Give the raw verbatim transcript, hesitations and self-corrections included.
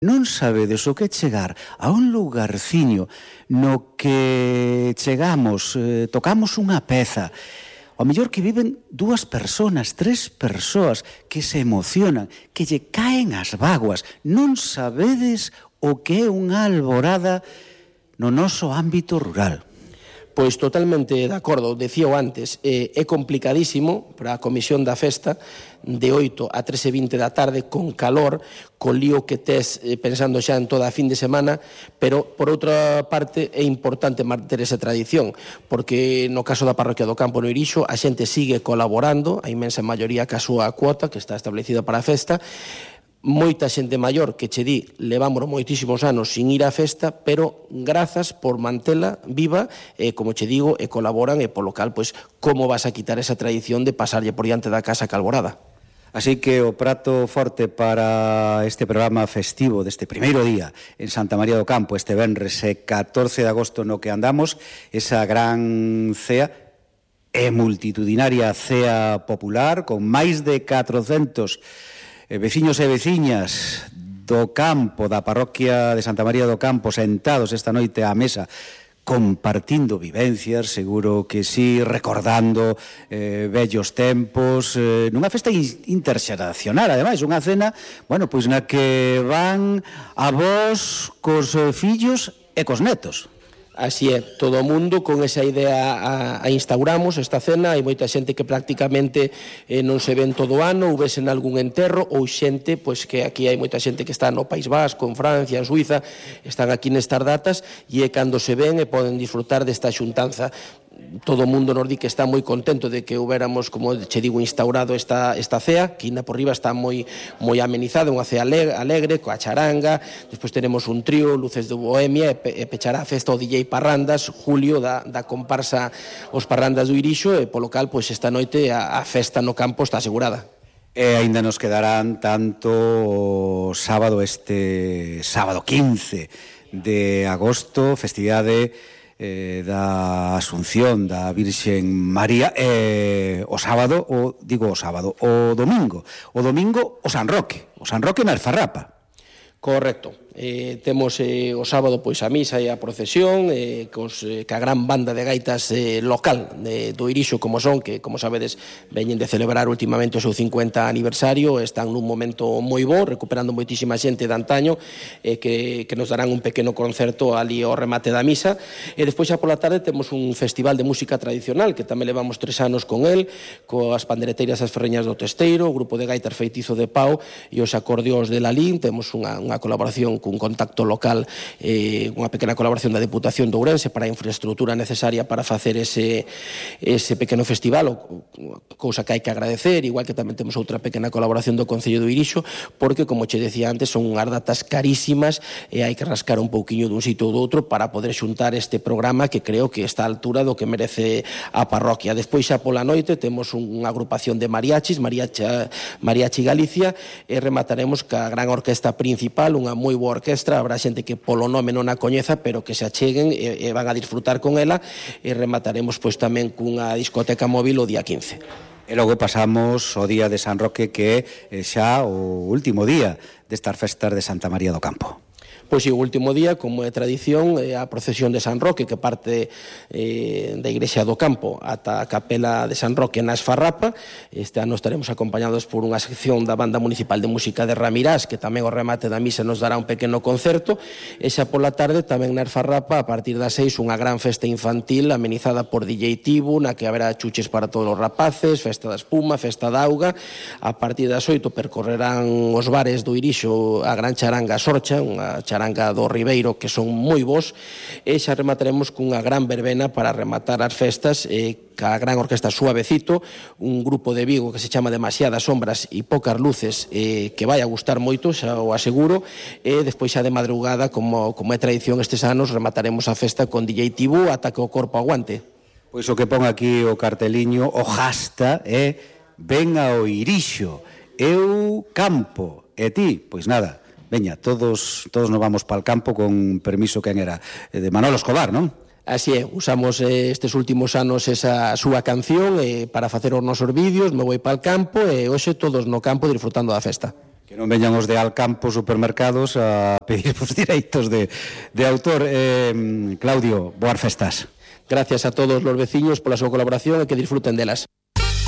Non sabedes o que chegar a un lugarciño no que chegamos, eh, tocamos unha peza, ao mellor que viven dúas personas, tres persoas que se emocionan, que lle caen as vaguas. Non sabedes o que é unha alborada no noso ámbito rural. Pois totalmente de acordo, decíao antes, eh, é complicadísimo para a comisión da festa de oito a tres e vinte da tarde con calor, co lío que tes eh, pensando xa en toda a fin de semana, pero por outra parte é importante manter esa tradición, porque no caso da parroquia do Campo no Irixo a xente sigue colaborando, a inmensa maioría ca súa cuota que está establecida para a festa, moita xente maior que che di levamos moitísimos anos sin ir á festa, pero grazas por mantela viva, e como che digo, e colaboran, e polo cal, pois, como vas a quitar esa tradición de pasarlle por diante da casa calborada? Así que o prato forte para este programa festivo deste primeiro día en Santa María do Campo, este venres catorce de agosto no que andamos, esa gran cea e multitudinaria cea popular con máis de catrocentos veciños e veciñas do campo, da parroquia de Santa María do Campo, sentados esta noite á mesa, compartindo vivencias, seguro que sí, recordando eh, vellos tempos, eh, nunha festa interxeracional, ademais, unha cena, bueno, pois na que van avós cos fillos e cos netos. Así é, todo o mundo con esa idea a, a instauramos esta cena. Hai moita xente que prácticamente eh, non se ven todo o ano, ou vesen algún enterro, ou xente, pois que aquí hai moita xente que está no País Vasco, en Francia, en Suiza, están aquí nestas datas, e é cando se ven e poden disfrutar desta xuntanza. Todo o mundo nos di que está moi contento de que houbéramos, como che digo, instaurado esta, esta cea, que ainda por riba está moi, moi amenizada, unha cea alegre, coa charanga. Despois tenemos un trío, Luces de Bohemia, e, pe, e pechará a festa o D J Parrandas, Julio, da, da comparsa Os Parrandas do Irixo, e polo cal, pois, esta noite a, a festa no campo está asegurada. E aínda nos quedarán tanto o sábado, este sábado quince de agosto, festividade Eh, da Asunción da Virxen María, eh, o sábado, o digo o sábado, o domingo, o domingo o San Roque, o San Roque na Alfarrapa. Correcto. Eh, temos eh, o sábado pois a misa e a procesión eh, cos, eh, ca gran banda de gaitas eh, local de, do Irixo, como son, que como sabedes veñen de celebrar últimamente o seu cincuenta aniversario, están nun momento moi bo, recuperando moitísima xente de antaño, eh, que, que nos darán un pequeno concerto ali ao remate da misa. E despois xa pola tarde temos un festival de música tradicional que tamén levamos tres anos con el, coas pandereteiras as ferreñas do Testeiro, o grupo de gaitas Feitizo de Pau e os acordeóns de Lalín. Temos unha, unha colaboración cun contacto local, eh, unha pequena colaboración da Deputación de Ourense para a infraestructura necesaria para facer ese, ese pequeno festival, o, cousa que hai que agradecer, igual que tamén temos outra pequena colaboración do Concello do Irixo, porque, como che decía antes, son unhas datas carísimas e hai que rascar un pouquiño dun sitio ou do outro para poder xuntar este programa que creo que está á altura do que merece a parroquia. Despois, xa pola noite, temos unha agrupación de mariachis, Mariachi, Mariachi Galicia, e remataremos ca gran orquesta principal, unha moi boa orquestra, habrá xente que polo nome non a coñeza, pero que se acheguen e, e van a disfrutar con ela, e remataremos pois tamén cunha discoteca móvil o día quince. E logo pasamos o día de San Roque, que é xa o último día destas festas de Santa María do Campo. Pois sí, o último día, como é tradición, é a procesión de San Roque, que parte eh, da Igrexa do Campo ata a Capela de San Roque na Esfarrapa. Este ano estaremos acompañados por unha sección da Banda Municipal de Música de Ramirás, que tamén o remate da misa nos dará un pequeno concerto. E xa pola tarde, tamén na Esfarrapa, a partir das seis, unha gran festa infantil amenizada por D J Tibu, na que haberá chuches para todos os rapaces, festa da espuma, festa da auga. A partir das oito percorrerán os bares do Irixo a gran charanga Sorcha, unha charanga charanga do Ribeiro, que son moi bons, e xa remataremos cunha gran verbena para rematar as festas, e ca gran orquesta Suavecito, un grupo de Vigo que se chama Demasiadas Sombras e Poucas Luces, eh, que vai a gustar moito, xa o aseguro. E despois xa de madrugada, como, como é tradición estes anos, remataremos a festa con D J Tibu ata que o corpo aguante. Pois o que pon aquí o carteliño, o jasta, é ven ao Irixo, eu campo, e ti, pois nada, veña, todos todos nos vamos para o campo, con permiso, quen era? De Manolo Escobar, non? Así é, usamos eh, estes últimos anos esa súa canción eh, para facer os nosos vídeos, Me vou para o campo, e hoxe todos no campo disfrutando da festa. Que non veñan os de Alcampo supermercados a pedir os direitos de, de autor. Eh, Claudio, boas festas. Gracias a todos os veciños pola súa colaboración e que disfruten delas.